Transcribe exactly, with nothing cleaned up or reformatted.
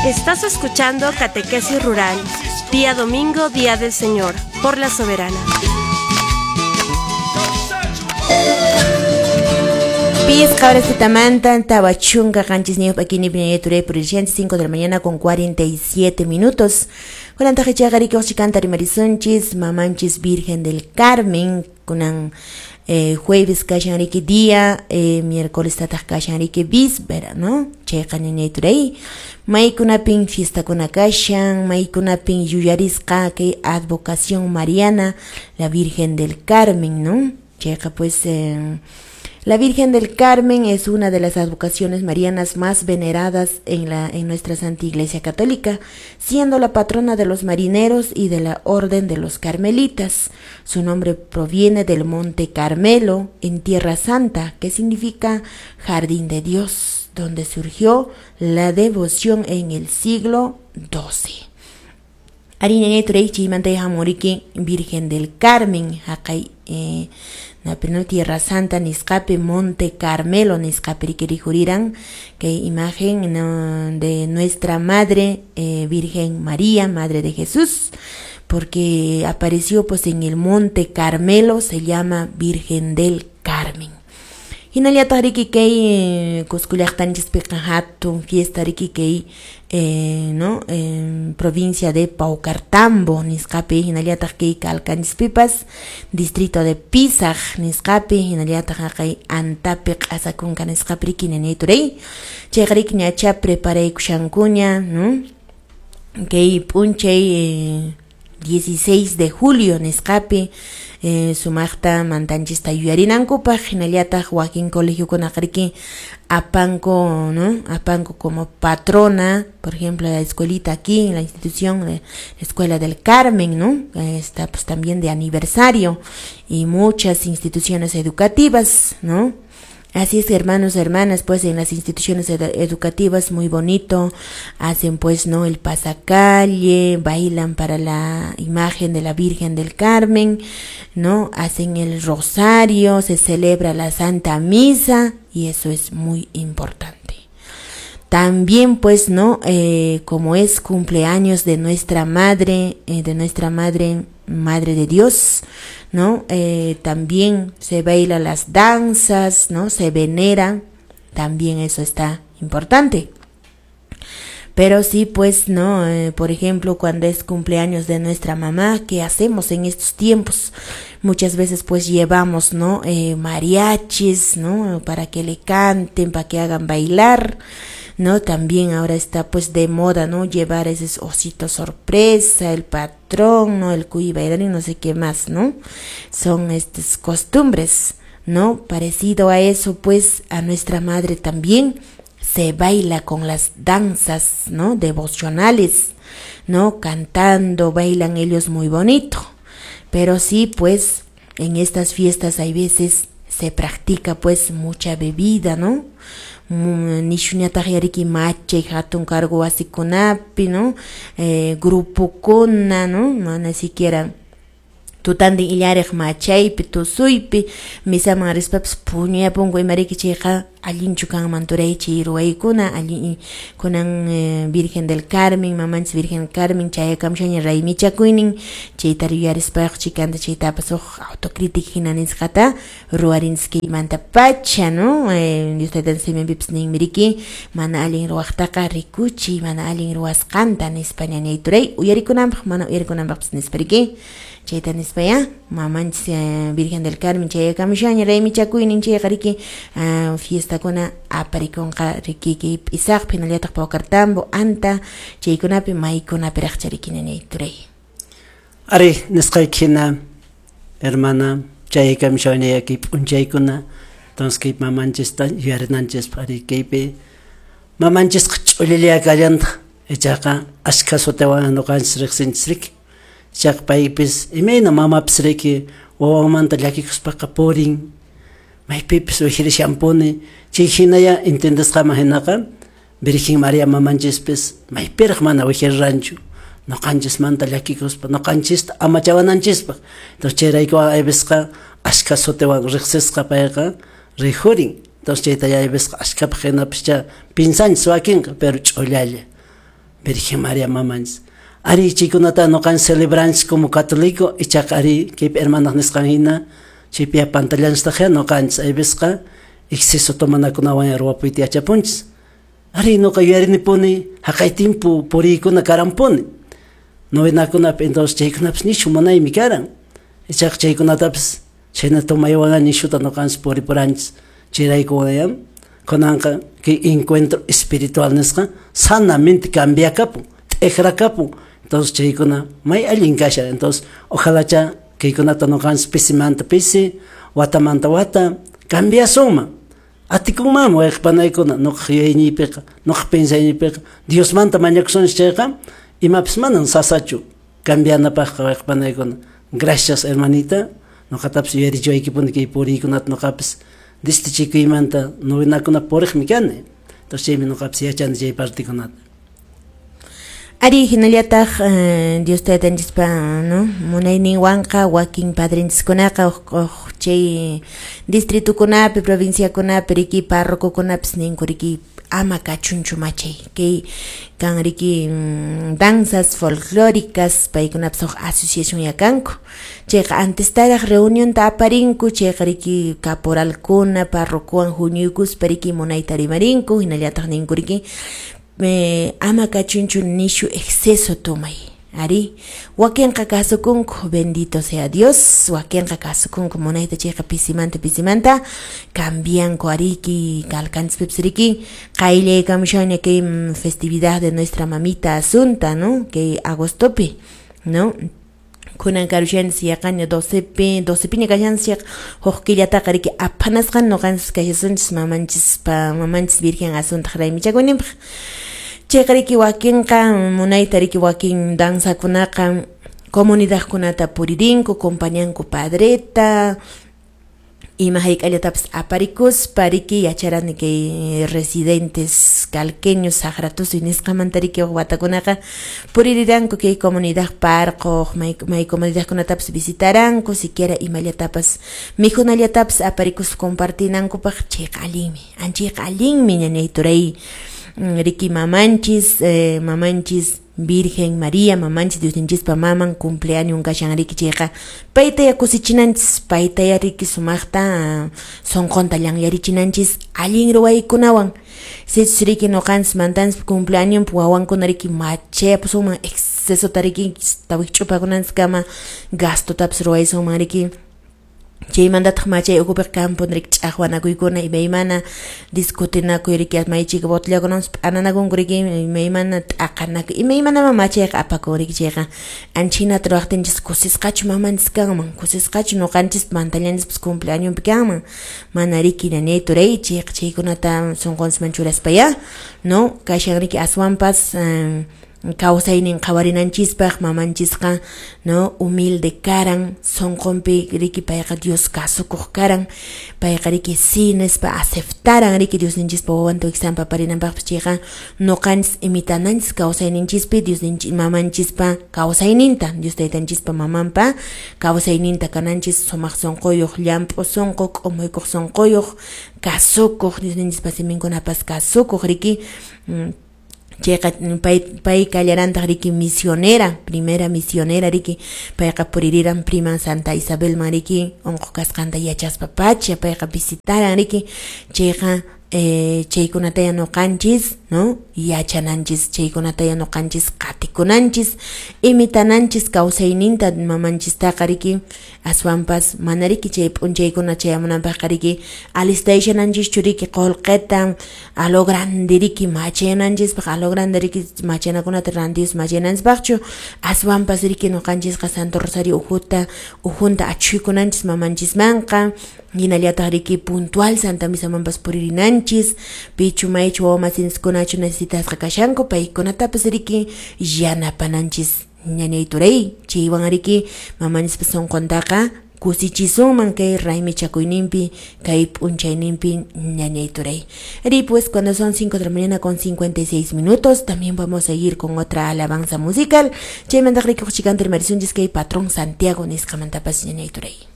Estás escuchando Catequesis Rural, día domingo, día del Señor, por la Soberana. Pisqa horas tawa chunka qanchisniyuq p'akini piñayaturey purishanchis cinco de la mañana con cuarenta y siete minutos. Kunantaqa ichaqa rikuqchikanta rimarisunchis mamanchis Virgen del Carmen kunan eh, jueves kashan riki día, eh, miércoles tataq kashan riki víspera, ¿no? Chayqa ñañayturay maykunapin fiestakuna kashan, maykunapin yuyarisqa kay advocación mariana, la Virgen del Carmen, ¿no? Chayqa pues eh, la Virgen del Carmen es una de las advocaciones marianas más veneradas en, la, en nuestra Santa Iglesia Católica, siendo la patrona de los marineros y de la Orden de los Carmelitas. Su nombre proviene del Monte Carmelo, en Tierra Santa, que significa Jardín de Dios, donde surgió la devoción en el siglo doce. Virgen del Carmen, haqay eh, no Tierra Santa nisqapi Monte Carmelo nisqapi rikuriran que imagen no, de nuestra madre eh, Virgen María, Madre de Jesús, porque apareció pues en el Monte Carmelo, se llama Virgen del Carmen. Hinallataq riki kay Cusco llaqtanchispiqa hatun fiesta riki kay eh, no eh, provincia de Paucartambo nisqapi, hinallataq kay Kalkanchispipas distrito de Pisaq nisqapi, hinallataq haqay Antapi q'asakunka nisqapi riki ñañayturay chayqa riki ñacha preparaykushankuña, no, kay p'unchay eh, dieciséis de julio nisqapi eh, sumaqta mantanchista yuyarinankupaq, hinallataq wakin colegiokunaqa riki apanku, ¿no? Apanku como patrona, por ejemplo, la escuelita aquí, la institución de la Escuela del Carmen, ¿no? Está pues también de aniversario y muchas instituciones educativas, ¿no? Así es, hermanos, hermanas, pues en las instituciones ed- educativas muy bonito, hacen pues, ¿no? El pasacalle, bailan para la imagen de la Virgen del Carmen, ¿no? Hacen el rosario, se celebra la Santa Misa y eso es muy importante. También pues, ¿no? Eh, como es cumpleaños de nuestra madre, eh, de nuestra madre, Madre de Dios, ¿no? Eh, también se baila las danzas, ¿no? Se venera, también eso está importante. Pero sí, pues, ¿no? Eh, por ejemplo, cuando es cumpleaños de nuestra mamá, ¿qué hacemos en estos tiempos? Muchas veces, pues, llevamos, ¿no? Eh, mariachis, ¿no? Para que le canten, para que hagan bailar, ¿no? También ahora está, pues, de moda, ¿no? Llevar esos ositos sorpresa, el patrón, ¿no? El cuy bailarín, no sé qué más, ¿no? Son estas costumbres, ¿no? Parecido a eso, pues, a nuestra madre también se baila con las danzas, ¿no? Devocionales, ¿no? Cantando, bailan ellos muy bonito. Pero sí, pues, en estas fiestas hay veces se practica, pues, mucha bebida, ¿no? Nishuñataq yariki machay hatun cargo wasikunapi, ¿no? Eh, grupukuna, ¿no? Mana siquiera tutantin illariq machaypi, tusuypi, misaman rispapis puñuyapunku imariki chayqa allinchu kanman turay chay ruwaykuna, allin kunan eh, Virgen del Carmen, mamanchis Virgen del Carmen chayakamushaña raymichakuynin, chayta yuyarispaqa chikanta chaytapas huk autocrítica hina nisqata ruwarinchis kaymanta pacha, ¿no? Eh, Dios taytan siminpipas ninmi riki mana allin ruwaqtaqa rikuchiy, mana allin ruwasqanta nispa ñañay turay uyarikunanpaq, mana uyarikunanpaqpas nispa riki. Chayta nispa ya, mamanchis eh, Virgen del Carmen chayakamushaña raymichakuynin chayqa riki uh, fiestakuna aparikunqa riki kay P'isaqpi, hinallataq Paucartambo, Anta, chaykunapi maykunapiraqcha riki ñañay turay. Ari, nisqayki hina, hermana, chayakamushaña kay p'unchaykuna, entonces kay mamanchista yuyarinanchispaq ari kaypi mamanchisqa ch'ullalla kallantaq, ichaqa ashkha sutiwan ñuqanchis riqsinchis riki. Ichaqa paypis imayna mamapis riki wawamanta llakikuspaqa purin, maypipis wihirishanpuni, chay hinaya entendisqaman hinaqa Virgen María mamanchispis maypiraq mana wihiriranchu, ñuqanchismanta llakikuspa ñuqanchista amachawananchispaq. Entonces chayrayku aypisqa ashkha sutiwan riqsisqa payqa rijurin. Entonces chayta aypisqa ashkhapaq hinapis cha pinsanchis wakinqa, pero ch'ullalla. Virgen María mamanchis. Ari chaykunata nuqanchis celebranchis como católico, ichaqa ari kaypi hermanaq nisqan hina chaypi pantallanchistaq nuqanchis aybisqa exceso tomanakunawan ruwapuyta yachapunchis. Ari nuqa yuyarinipuni haqay timpu puriykuna karanpuni. Novenakunapi entonces chaykunapis nishu munaymi karan. Ichaqa chaykunatapis chayna tomaywan nishuta nuqanchis puripuranchis. Chayraykuwan kunanqa kay encuentro espiritual nisqa sanamente cambiakapun, t'ikrakapun. Entonces chaykuna may allin kashan. Entonces ojalá cha kaykunata nuqanchis pisimanta pisi, watamanta wata cambiasunman. Atikunmanmi wayqipanaykuna nuqaq yuyayniypiqa, nuqaq pinsayñiypiqa Diosmanta mañakusunchis chayqa imapis manan sasachu cambianapaqqa wayqipanaykuna. Gracias hermanita, nuqatapis yuyarichiwaykipuni kay puriykunata nuqapis desde chikuymanta novenakuna puriqmi kani. Entonces chaymi nuqapis yachani chay partikunata. Ari hinallataq eh, Dios taytanchispa, no, munayninwanqa wakin padrinchiskunaqa uq chay distritukunapi, provinciakunapi riki párrocokunapis ninku riki ama kachunchu machay kay kan riki mm, danzas folclóricas paykunapis huk asociación yakanku chayqa antestaraq reunionta aparinku chayqa riki caporalkuna parrocowan huñuykuspa riki munayta rimarinku hinallataq ninku riki me ama kachunchu nishu exceso tomay. Ari, wakinqa kasukunku, bendito sea Dios, wakinqa kasukunku munayta chayqa pisimanta pisimanta cambianku ariki kalkanchispipis riki qayllaykamushanña kay festividad de nuestra mamita Asunta, ¿no? Kay agostopi, ¿no? Kunan karushanchis yaqaña docepi, docepiña kashanchis huk killataqa riki aphanasqan nuqanchis kashasunchis mamanchispa mamanchis Virgen Asuntaq raymichakuyninpaq. Chayqa riki wakinqa munayta riki wakin danzakunaqa comunidadkunata puririnku, compañanku padreta, ima hayk'allatapis aparikuspa riki yacharani kay residentes calqueños saqratusuy nisqamanta riki huk watakunaqa puririranku kay comunidad parqoq may, may comunidadkunatapis visitaranku siquiera imallatapas mikhunallatapis aparikuspa compartinankupaq chayqa allinmi, anchayqa allinmi ñañay turay riki mamanchis, eh, mamanchis Virgen María, mamanchis Diosninchispa maman cumpleaños kashan riki chayqa paytaya kusichinanchis, paytaya riki sumaqta sonqonta llanllarichinanchis allin ruwaykunawan. Sichus riki nuqanchis mantanchis cumpleaños wawankuna riki machayapusunman excesota riki tawikch'upakunanchiskama gastotapis ruwaysunman riki. Chaymantataq machay ukupiq kampun riki ch'aqwanakuykuna imaymana discutinakuy riki maychika botellakunawanpas p'ananakunku riki imaymana t'aqanakuy imaymanaman machayqa apakun riki chayqa anchinata ruwaqtinchis kusisqachu mamanchis kanman, kusisqachu nuqanchis mantallanchispas cumpleañonpi kanman, mana riki ñañay turay chayqa chaykunata sunqunchisman churaspaya, no, kashan riki aswanpas eh, kawsaynin qhawarinanchispaq mamanchisqa, no, humilde karan sonqonpi riki payqa Dios kasukuq karan payqa riki sí nispa aceptaran riki Diosninchispa wawanta wiksanpa aparinanpaqpis chayqa nuqanchis imitananchis kawsayninchispi Diosninchis mamanchispa kawsayninta Dios taytanchispa mamanpa kawsayninta kananchis sumaq sunquyuq llamp'u sunqu k'umuykuq sunquyuq kasukuq Diosninchispa siminkunapas kasukuq riki mm, chayqa pay pay kallarantaq riki misionera, primera misionera riki payqa puririran prima Santa Isabelman riki unquq kasqanta yachaspa pacha payqa visitaran riki chayqa eh, chaykunataya nuqanchis, no, yachananchis chaykunataya nuqanchis qatikunanchis imitananchis kawsayninta mamanchistaqa riki aswanpas mana riki chay p'unchaykuna chayamunanpaqqa riki alistayshananchischu riki qullqita a lo grande riki machananchispaq a lo grande riki machanakunata rantius machananchispaqchu aswanpas riki nuqanchisqa Santo Rosario ujuta ujunta achhuykunanchis mamanchismanqa hinallataq riki puntual Santa Misamanpas puririnanchis pichu maychu wawamasinchikunachu necesitasqa kashanku paykunatapas riki yanapananchis ñañay turay chaywan riki mamanchispa sunquntaqa kusichisunman kay raymichakuyninpi kay p'unchayninpi ñañay turay. Y pues cuando son cinco de la mañana con cincuenta y seis minutos también vamos a ir con otra alabanza musical chaymantaq riki huchikanta rimarisunchis kay patrón Santiago nisqamantapas ñañay turay.